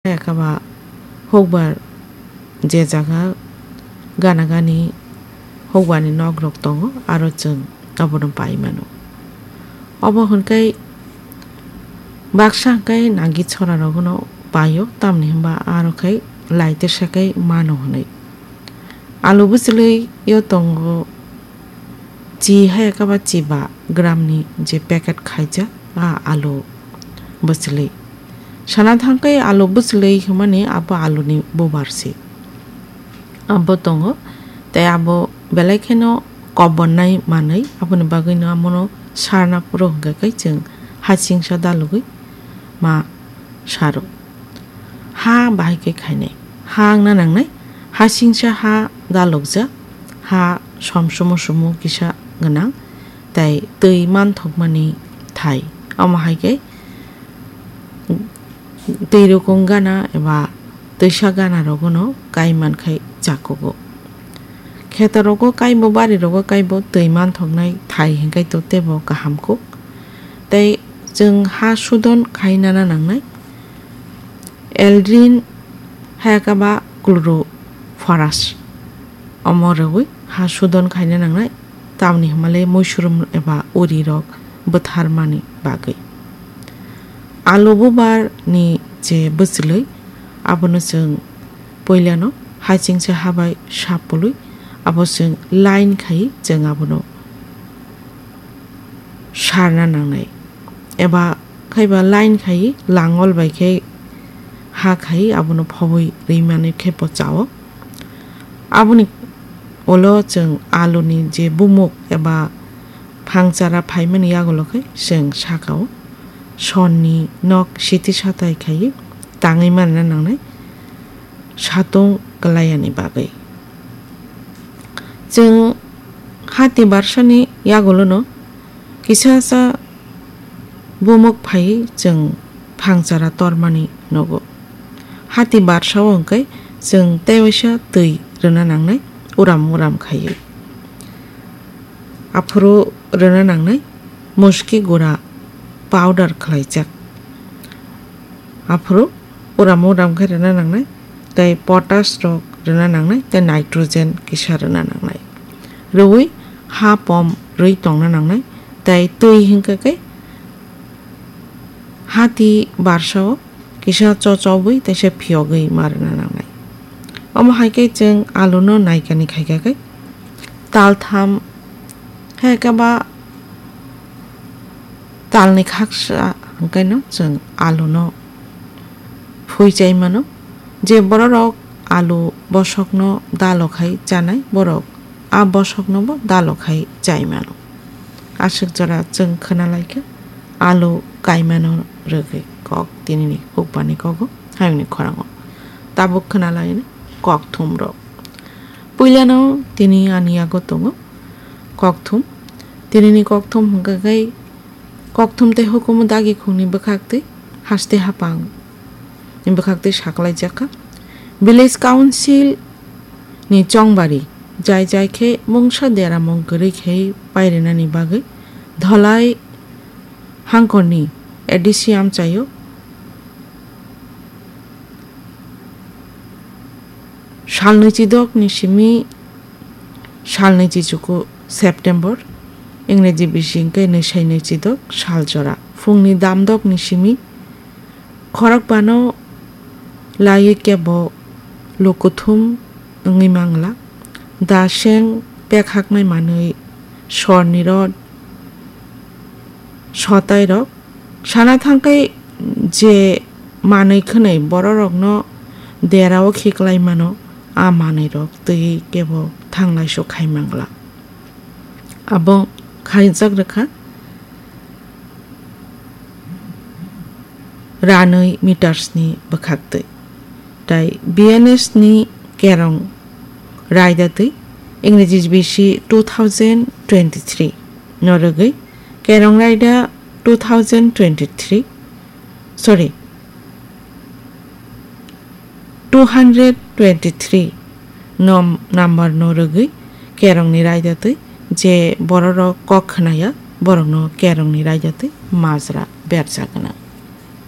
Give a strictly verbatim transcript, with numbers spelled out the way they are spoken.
Khe kaba hukbar je jaga gana gani hukbarni nok rok tongo, aro chwng abono pai mano. Obo hwnkhe baksa hwnkhe nagi chora rokno paio, tamni hwnba aro khe lai tesa khe mano hwnwi. Alu bwchwlwi yo tongo chi hai kaba chiba gram ni je packet khaijak a alu bwchwlwi. Sana thangkhe alu bwchwlwi hwnmani abo alu ni bubar se. Abo tongo, tei abo belai kheno kobonnai manwi, aboni bagwino amono sarna phuru hwnkhe khe chwng hasingsa dalogwi ma saro. Ha bahai khe khainai. Ha wngna nangnai. Hasingsa ha dalokjak. Ha som sumu sumu kisa gwnang. Tei twi manthokmani thai. Omo hai khe twi rukung gana eba twisa gana rogono kai mankhai chakugo. Kheto rogo kaibo, bari rogo kaibo twi manthoknai thai hwnkhe to tebo kaham kuk. Tei chwng ha sudon khai nana nangnai. Eldrin hayakaba chlorophorus omo rwui ha sudon khaina nangnai, tamni hwnmale muisurum eba uri rok bwtharmani bagwi. Alu bubar ni je bwchwlwi, abono chwng puilano hachingsa habai sapului, abo chwng line khai chwng abono sarna nangnai. Eba khaiba line khai langol bai khe ha khai abono phobwi rwimani khe pochao. Aboni ulo chwng aluni je bumuk eba phangchara phaimani yagulo khe chwng sakao sonni nok siti satai khai tangwi manna nangnai satung kwlaiani bagwi. Chwng hati barsani yagulono kisa sa bumuk phai chwng phangchara tormani nogo. Hati barsao hwnkhe chwng tei waisa twi rwna nangnai, uram uram khaiwi. Aphuru rwna nangnai muski gura powder khlaijak. Aphuru uram uram khe rwna nangnai, tei potash rok rwna nangnai, tei nitrogen kisa rwna nangnai. Rwui ha pom rwi tongna nangnai, tei twi hwnkhe khe hati barsao kisa chochobwi teisa phiyogwi ma rwna nangnai. Omo hai khe chwng aluno naikani khaikha khe taltham hai khe ba talni khaksa hwnkhe no chwng aluno phui chai mano. Je bororok alu bosokno dalo khai chanai, borok a bosoknobo dalo khai chai mano. Aswk jora chwng khwna lai kha alu kaimano rwgwi kok tinini hukbani kogo hayungni khorango. Tabuk khwna lai kok thumrok. Puilano tini ani yago tongo kok thum. Tinini kok thum hwnkha khe kok thum tei hukumu dagi khungni bwkhak twi haste hapang ni bwkhak twi saklaijak kha. Village Council ni chongbari jai jai khe mungsa deramung kwrwi khe pairinani bagwi Dholai hangkorni A D C amchaio sal nwichidok ni simi sal nwichichuku September, Ingreji bising khe nwisai nwichidok sal jora phungni damdok ni simi khorokbano laiwi kebo lukuthum wngwi mangla. Da seng pekhaknai manwi sorni rod sotairok sana thangkhe je manwi khwnwi bororokno derao khiklai mano, a manwirok twi kebo thanglaisu khai mangla. Abo khaijak rwkha ranwi meters ni bwkhaktwi. Tai B N S ni kerong raida twi, Ingreji bisi two thousand twenty-three no rwgwi kerong raida two thousand twenty-three, sorry, two hundred twenty-three nom number no rwgwi kerongni raida twi je bororok kok khwnaya borokno kerongni raida twi majra berjak gwnang.